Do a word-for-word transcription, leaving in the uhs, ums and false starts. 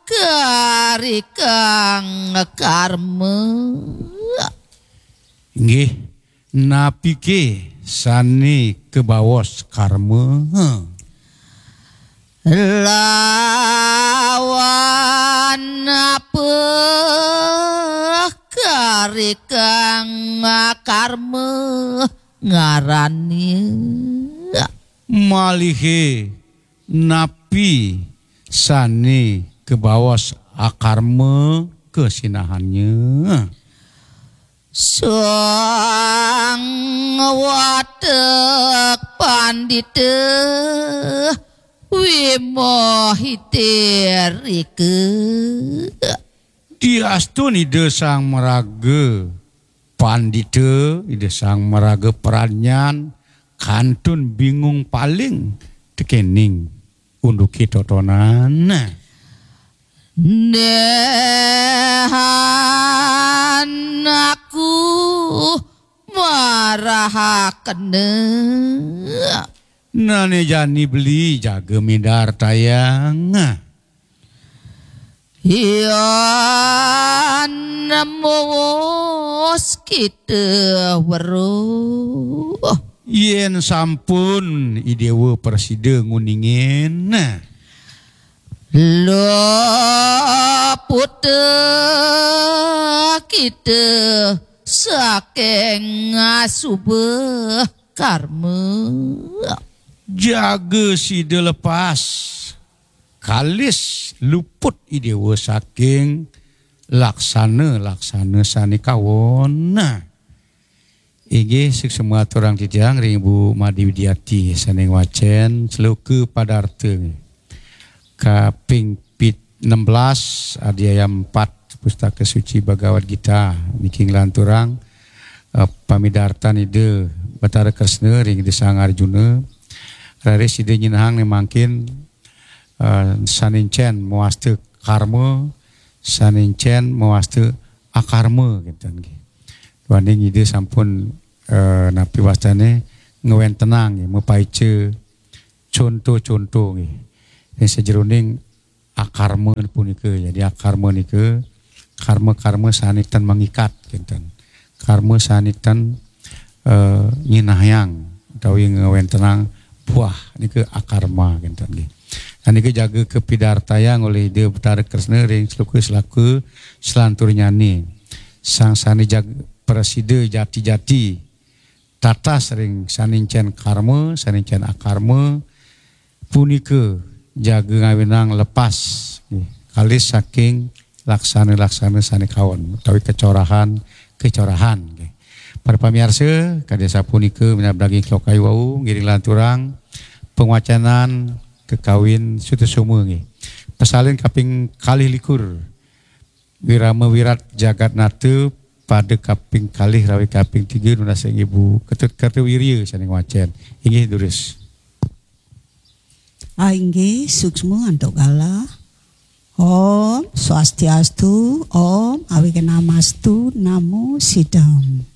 karikang karma. Inggih, napike sane kebaos karma? Lawan apa karikang karma ngarane? Malihe napi sane kebaos akarma kesinahannya? Sang watek pandita wimohite rika. Diastun Ida Sang Maraga Pandita, Ida Sang Maraga Pradnyan, kantun bingung paling tekening unduke totonan. Nehan aku marahakena. Nane jani beli jaga midartayang. Yan mowos kita weruh. Yen sampun Idewa prasida nguningin. Luput kita saking asuba karma. Jaga sida lepas. Kalis luput Idewa saking laksana-laksana sane kawon. Nah, inggih suksma aturang titiang ring Ibu Made Widiati sane ngwacen sloka padarta kaping pit-, enam belas, adhyaya empat, Pustaka Suci Bhagavad Gita, niki nglanturang, eh, pamidartan Ida Batara Kresna ring Ida Sang Arjuna. Raris Ida nyinahang ne mangkin, eh, sane encen mawasta karma, sane encen mawasta akarma, kinten nggih. Duaning Ida sampun, eh, napi wastane, ngwentenang nggih, mapaica conto-conto nggih. Ring sajeroning akarma punika. Jadi akarma nika karma-karma sane ten mangikat, kinten. Karma sane ten, eh, nyinahang utawi ngwentenang buah nika akarma, kinten nggih. Nah, nika jaga kapidartayang olih Ida Batara Kresna ring sloka-sloka salanturnyane. Sang sane jaga prasida jati-jati tatas ring sane encen karma, sane encen akarma, punika jaga ngawinang lepas, nggih, kalis saking laksana-laksana sane kawon utawi kecorahan-kecorahan, nggih. Para pamiarsa, kadi sapunika minab daging sloka wau ngiring lanturang pangwacanan kakawin Sutasoma, nggih. Pasalin kaping kalih likur. Wirama Wirat Jagat Nata pada kaping kalih rawi kaping tiga nunas ring Ibu Ketut Kartawirya sane ngwacen. Inggih, durus. Ah, inggih, suksma antuk galah. Om Swastiastu, Om Awighnamastu, Namo Siddham.